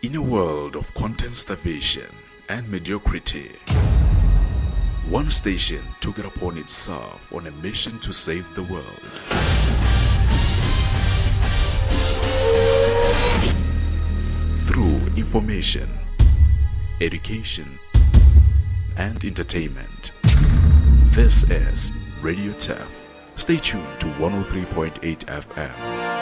In a world of content starvation and mediocrity, one station took it upon itself on a mission to save the world. Through information, education, and entertainment. This is Radio Turf. Stay tuned to 103.8 FM.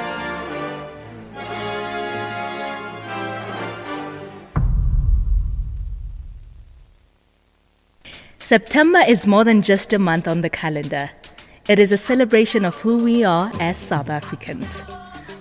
September is more than just a month on the calendar. It is a celebration of who we are as South Africans.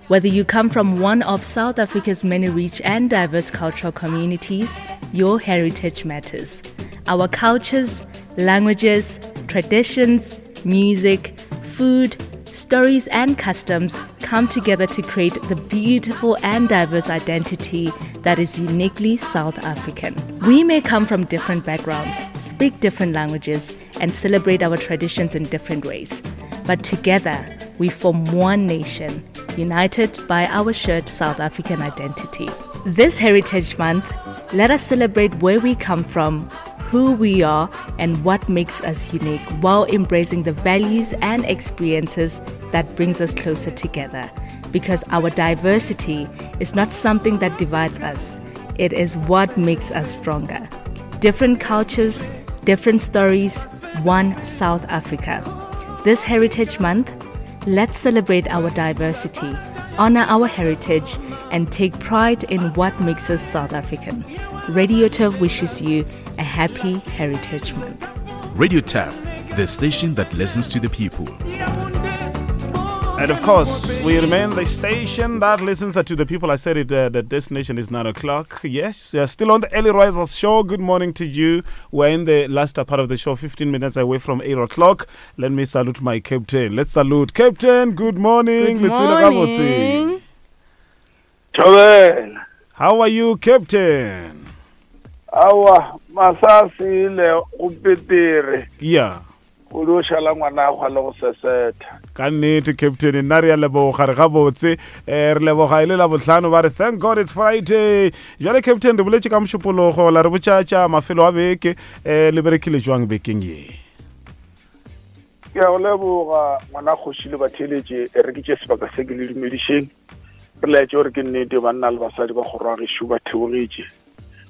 Whether you come from one of South Africa's many rich and diverse cultural communities, your heritage matters. Our cultures, languages, traditions, music, food, stories, and customs come together to create the beautiful and diverse identity that is uniquely South African. We may come from different backgrounds, speak different languages, and celebrate our traditions in different ways. But together, we form one nation, united by our shared South African identity. This Heritage Month, let us celebrate where we come from, who we are, and what makes us unique while embracing the values and experiences that brings us closer together. Because our diversity is not something that divides us, it is what makes us stronger. Different cultures, different stories, one South Africa. This Heritage Month, let's celebrate our diversity, honor our heritage, and take pride in what makes us South African. Radio Turf wishes you a happy Heritage Month. Radio Turf, the station that listens to the people. And of course, we remain the station that listens to the people. I said it, uh, the destination is 9 o'clock. Yes, we are still on the Early Risers show. Good morning to you. We're in the last part of the show, 15 minutes away from 8 o'clock. Let me salute my captain. Let's salute Captain. Good morning. Good morning. Thobela. How are you, Captain? Awa, masasile go petere. Yeah. O dio šala ngwana gwa le go sesetha. Ka nnete Captain, nna re a leboga re gabotse. Eh re leboga e le la bohlano ba re thank God it's Friday. Jwale Captain re boletše ka mošupologo la re botša tša mafelo a beke eh le berekile jwang bekeng ye. Ke a go leboga ngwana kgoši le batheeletše e re ke tše sebaka se ke le dumedišeng. Re laetše gore ke nnete banna le basadi ba kgoro ya gešo ba theogetše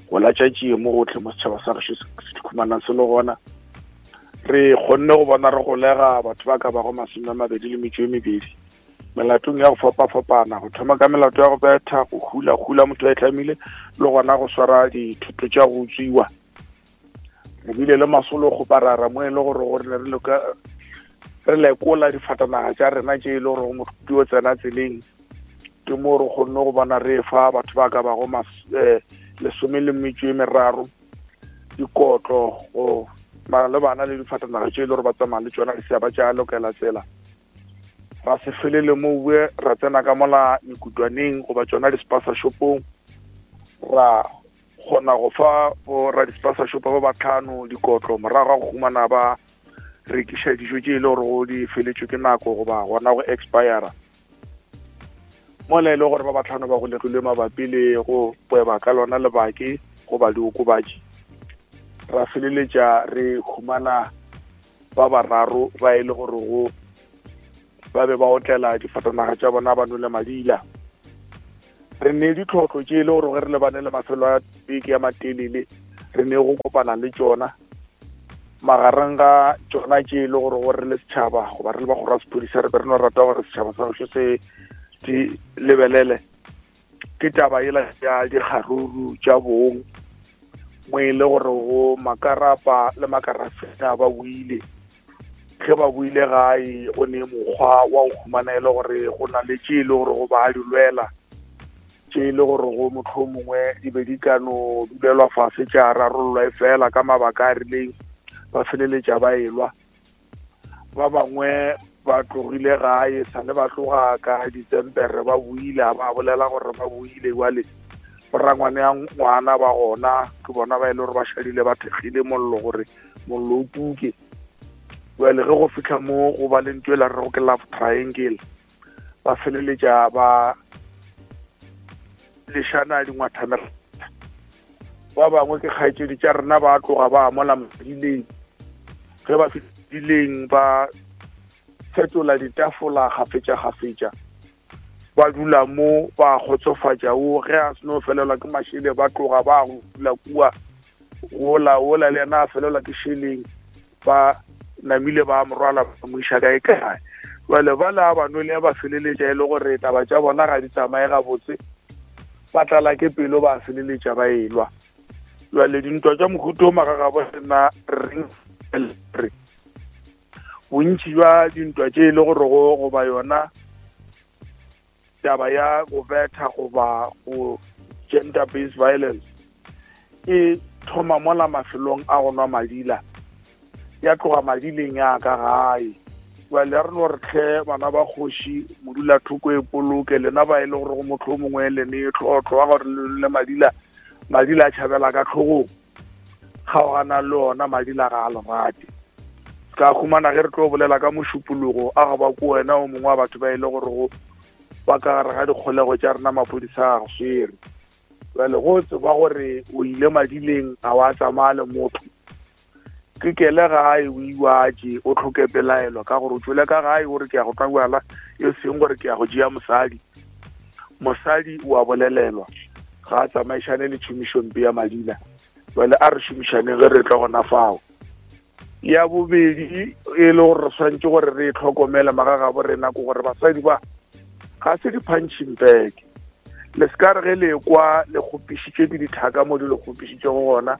go latša tšie mo gotlhe mo setšhaba sa gešo se dikhumanang se le gona. Re kgonne go bona re golega batho ba ka bago masome a mabedi le metšo e mebedi melatong ya go fapafapana, go thoma ka melato ya go betha, go hula hula motho a e tlamile, le gona go swara dithoto tša go utswiwa. Re bile le masolo go parara mo e le gore gore ne re loka re lekola difatanaga tša rena tše e le gore motho di o tsena tseleng ke mo re kgonne go bona re fa batho ba ka bago eh, lesome le metšo e meraro dikotlo go le bana le difatanaga tše e le gore ba tsamaya le tšona di sa ba tša lokela tsela ra se felele mowe ra tsena ka mola mekutwaneng goba tšona di-spasa shopong ra kgona go fa boradispasašopa ba batlhano dikotlo morago ga go humana ba rekiša dijo tše e le gore go di feletšwe ke nako goba gona go expira mola e le gore ba batlhano ba golegilwe mabapi le go kweba ka lona lebake goba diokobatši ra feleletša re humana ba bararo ba e le gore go ba be ba otlela difatanaga tša bona ba nole madila re ne ditlhohlo tše e le gore ge re lebane le mafelo a beke ya matelele re ne go kopana le tšona magareng ga tšona tše e le gore gore re le setšhaba goba re le ba kgoro ya sephodisa re be re no rata gore setšhaba sa gešo se di lebelele ke taba ela ya dikgaruru tša bong mo e le gore go makarapa le makarafena ba buile ge ba buile gae go ne mokgwa wa go humana e le gore go na le tše e le gore go ba di lwela tše e le gore go motlho mongwe di be di ka no dulelwa fase tša rarollwa e fela ka mabaka a rileng ba feleletša ba elwa ba bangwe ba tlogile gae sale ba tloga ka ditsempere ba buile a ba bolela gore ba buile jale borangwane ya ngwana ba gona ke bona ba e le gore ba šadile ba thekgile mollo gore mollo o tuke jale ge go fitlha mo go ba le ntho e la rego ke love triangle ba feleletša ba lešana dingwathana. Ba bangwe ke kgaetšedi tša rena ba tloga ba mola madileng, ge ba fihlileng ba fetola ditafola kgafetša-kgafetša, ba dula mo ba kgotsofatša wo. Ge a seno felelwa ke mašele ba tloga ba go dula kua gola ola, le yena a felelwa ke šeleng, ba namile ba morwala ba mo iša kae kae. Jale ba le a ba nwele ba feleletša e le gore taba tša bona ga di tsamaye gabotse, ba tlala ke pelo ba feleletša ba elwa. Jale dintwa tša mohuta o magagabo rena reng re bontši bja dintwa tše e le gore go goba yona taba ya go betha goba go gender based violence e thoma mola mafelong a go nwa madila, ya tloga madileng ya ka gae. Jale re no re tlhe bana ba kgoši modula thoko e poloke lena ba e le gore go motho o mongwe le ne tlhotlho wa gore le madila, madila a tšhabela ka tlhogong, kgaogana le ona madila ga a lerate. Ka humana ge re tlo bolela ka mošupologo a go ba ko wena o mongwe wa batho ba e le gore go ba ka gare ga dikgolego tša rena maphodisa a go swere. Jale go tseba gore o ile madileng a wa tsamaya le motho, ke kele gae o iwatše o tlhoke pelaelo ka gore o tšwele ka gae o re ke ya go tla bjala, e seng gore ke ya go tšea mosadi. Mosadi o a bolelelwa ga a tsamaišane le tšhomišompe ya madila. Jale a re šomišaneng ge re tla gona fao. Ya bobedi e le gore re swanetše gore re e tlhokomele magagabo rena ke gore basadi ba ga se di-punching bag. Le se ka re ge le kwa le kgopišitšwe ke dithaka mo di le kgopišitšego gona,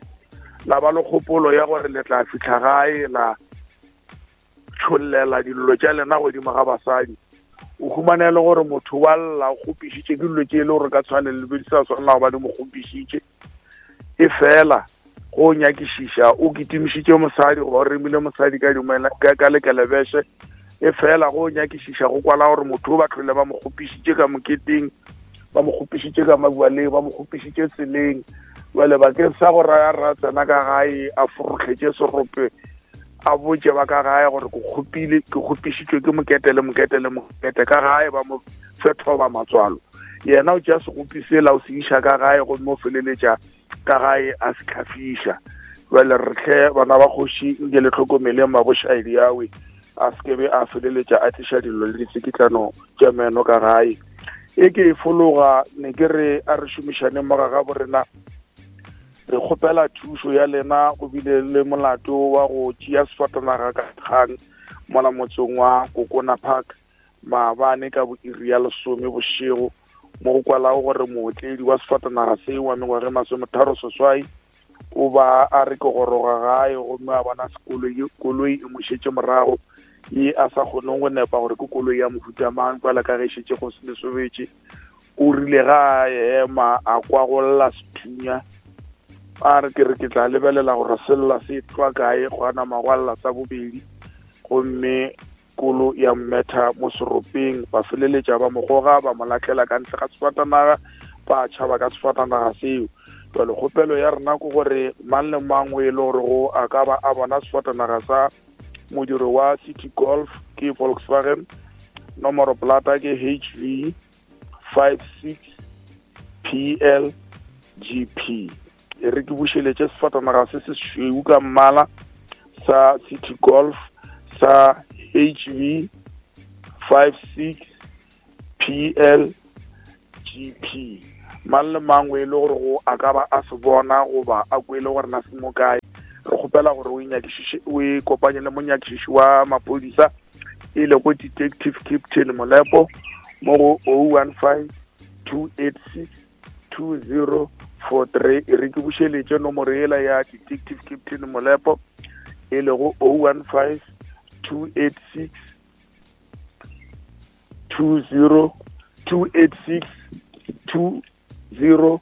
la ba le kgopolo ya gore le tla fihla gae la tšhollela dillo tša lena godimo ga basadi. O humane le gore motho wa lla o kgopišitše ke dilo tše e le gore ka tshwanelo le be di sa swanela go ba di mo kgopišitše. E fela go nyakišiša o kitimišitše mosadi goba o remile mosadi ka dumela ka lekelebese, e fela go nyakišiša go kwala gore motho o ba tlhole ba mo kgopišitše ka moketeng, ba mo kgopišitše ka mabualeng, ba mo kgopišitše tseleng. Jale bakeng sa go raya ra tsena ka gae a forohletše serope a botše ba ka gae gore ke kgopile, ke kgopišitšwe ke mokete le mokete le mokete ka gae, ba mo fethoba matswalo. Yena o tšea segopi sela o se iša ka gae gomme o feleletša ka gae a se hlafiša. Jale re hle bana ba kgoši nke le tlhokomeleng mabošaedi awe a se kebe a feleletša a tliša dillo le ditsikitlano tša meno ka gae. E ke e fologa ne ke re a re šomišaneng moga ga borena, re kgopela thušo ya lena. Go bile le molato wa go tšea sefatanaga ka kgang mola motseng wa Kokona Park maabane ka boiri ya 10 bošego, mo go kwalago gore mootledi wa sefatanaga seo wa mengwaga e 38 o ba a re ke goroga gae gomme a bona koloi e mo šetše morago ye a sa kgoneng go nepa gore ke koloi ya mohuta mang, kwala ka ge e šetše go se lesobetše. O rile ga a ema a kwa go lla sethunya, a re ke re ke tla lebelela gore se lla se tlwa kae, gwa nama gwa lla sa bobedi gomme kolo ya mmetha mo seropeng. Ba feleletša ba mo goga ba mo lahlela ka ntle ga sefatanaga, ba tšhaba ka sefatanaga seo. Jwale kgopelo ya rena ke gore mang le mang o e le gore go a ka ba a bona sefatanaga sa modiro wa City Golf ke Volkswagen, nomoro plata ke HV 56 PLGP. E re ke bušeletše sefatanaga se se sešweu ka mmala sa City Golf sa HV 56 PLGP. Mang le mang o e le gore go a ka ba a se bona goba a kwele gore na se mo kae, re kgopela gore o inyakišiše, o e kopanye le monyakišiši wa maphodisa e lego Detective Captain Molepo mo go 015 286 2043. E re ke bušeletše nomoro yela ya Detective Captain Molepo e lego 015 286 20 286 2043.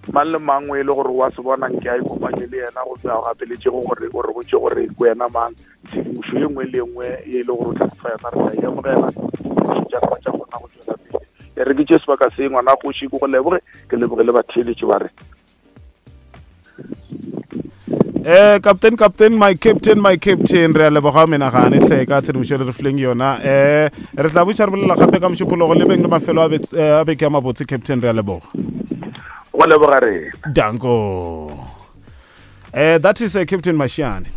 Mang le mang o e le gore wa se bona nke a ikopanye le yena gomme a gapeletšego gore o re botše gore ke wena mang. Tshedimošo ye nngwe le ye nngwe e le gore o tla re fa yona re tla e amogela, tša rena tša kgona go tšwela pele. E re ke tše sebaka se ngwana kgoši ke go leboge, ke leboge le batheeletši ba re. Eh captain captain my captain my captain re a leboga menagane hle ka tshedimošo le re fileng yona eh re tla botša re bolela gape ka mošupologo le beng le mafelo a eh, a beke a mabotse captain re a leboga go leboga rena danko eh that is uh, captain mashiane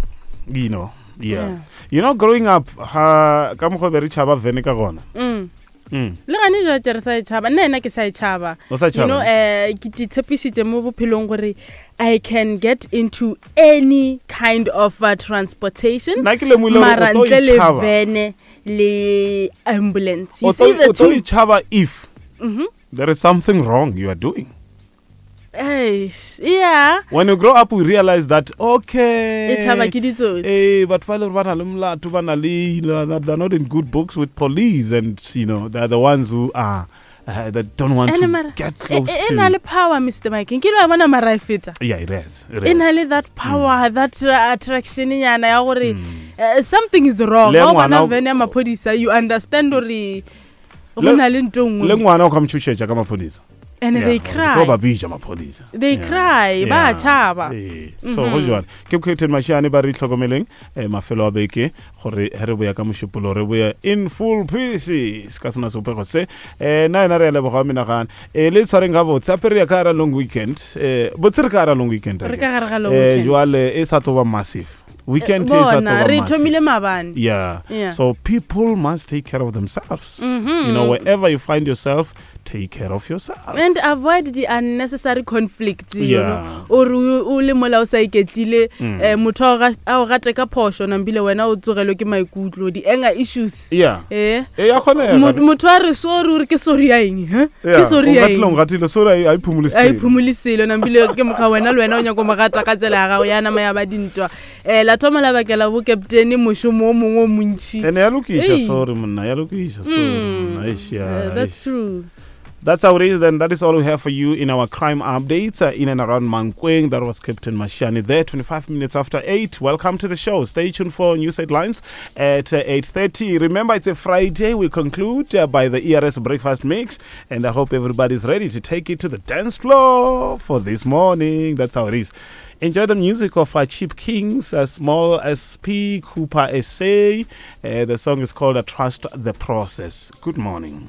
you know yeah. yeah you know growing up ha ka mokgwa be re tšhaba vene ka gona mm. Mm. Le gane jwa re sa e tšhaba nna ena ke sa e tšhaba you know um ke tshepišitše mo bophelong gore i can get into any kind of uh, transportation mara ntle le vene le ambulance you see the two tšhaba if mm -hmm. there is something wrong you are doing Hey, yeah. When you grow up, we realize that okay. E tšhaba ke ditsotsi. Eh, batho ba le ba na le molato ba na le they're not in good books with police and you know they're the ones who are uh, that don't want to mara, get close e, e, e na le power Mr. Mike. Nkile wa bona mara e feta. Yeah, it is. It e na le that power, mm. that uh, attraction nyana ya gore mm. uh, something is wrong. Ga o bona vene ya maphodisa, you understand gore go na le nto nngwe. Le ngwana o ka mo tšhošetša ka maphodisa. And they cry. Tlo ba bitša maphodisa. They cry, ba tšhaba. Ee. So go jwale. Ke Captain Mashiane ba re itlhokomeleng eh, mafelo a beke gore he re boya ka mošupolo re boya in full pieces ka sona sebopego se. Eh nna ena re a leboga menagane. Eh le tshwareng ga botse ape re ya ka gara long weekend. Eh botse re ka gara long weekend. Re ka gare ga long eh, weekend. Jwale e sa tlo ba massive. Weekend e sa tlo ba re thomile maabane. Yeah. So people must take care of themselves. Mm -hmm. You know wherever you find yourself take care of yourself and avoid the unnecessary conflicts you yeah. know or o le mola o sa iketlile mm. eh, motho a o gate ka phošo nambile wena o tsogelwe ke maikutlo di-anger issues yeah. eh e ya kgonega motho a re sorry o re ke sorry ya eng he ke sorry ya eng gatile sorry a iphumule selo a iphumule selo nambile ke mokha wena le wena o nyako mo gata ka tsela ya gago ya nama ya ba dintwa eh la thoma la bakela bo captain mošomo o mongwe o montši ene ya lokiša sorry monna ya lokiša sorry mm. monna eish yeah uh, that's true That's how it is. Then that is all we have for you in our crime updates uh, in and around Mankweng. That was Captain Mashani there, 25 minutes after 8. Welcome to the show. Stay tuned for news headlines at uh, 8.30. Remember, it's a Friday. We conclude uh, by the ERS Breakfast Mix. And I hope everybody's ready to take it to the dance floor for this morning. That's how it is. Enjoy the music of uh, Cheap Kings, uh, Small SP, Cooper SA. Uh, the song is called uh, Trust the Process. Good morning.